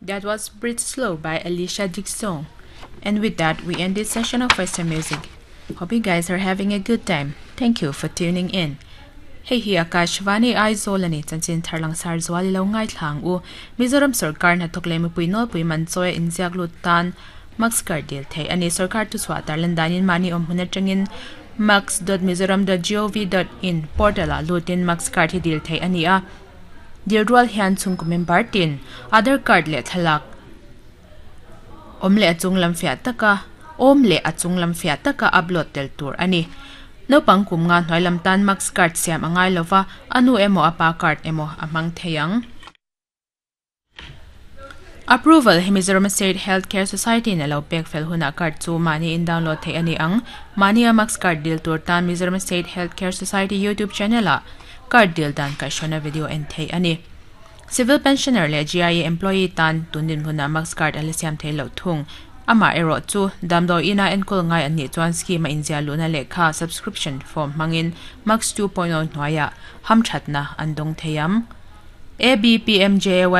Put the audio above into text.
That was Breathe Slow by Alesha Dixon. And with that, we end this session of Western music. Hope you guys are having a good time. Thank you for tuning in. Hei hi Akashvani Aizawl a ni chanchin thar langsar zual i lo ngaithla ang u. Mizoram sorkar hnathawk leh mipui nawlpui man chawi a inziak lut tan Max card dil theih a ni. Sorkar thuchhuah tarlan danin mahni awm hun atangin max.mizoram.gov.in portal ah lutin Max card hi dil theih a ni a. Dil rual hian chhungkaw member tin Aadhaar card leh thlalak awm leh a chung lam fiah taka awm leh a chung lam fiah taka upload tel tur a ni. Naupang kum nga hnuai lam tan Max card siam a ngai lova, a nu emaw a pa card emaw a hmang thei ang. Approval hi Mizoram State Health Care Society in a lo pek fel hunah card chu mahni in download theih a ni ang. Mahni a Max card dil tur tan Mizoram State Health Care Society YouTube channel ah card dil dan kaihhruaina video en theih a ni. Civil Pensioner leh GIA employee tan tun dinhmunah Max card a la siam thei loh thung. Amah erawh chu damdawi ina enkawl ngai an nih chuan scheme a inziah luhna lehkha subscription form hmangin Max 2.0 hnuaiah hamthatna an dawng thei ang. ABPMJAY.